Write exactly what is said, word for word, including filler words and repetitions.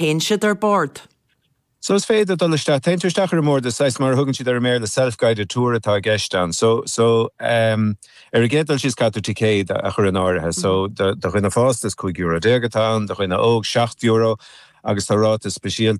Théann siad ar bord. So is féidir dul isteach téann tú isteach ar an mbord is mar a thugann siad ar an mBéarla self-guided tour atá i gceist ann. So so um, ar an gcéad dul síos caithfidh tú ticéad a chur in áirithe. So do dhuine fásta is cúig euro déag atá ann, do dhuine óg seacht euro agus tá ráta speisialta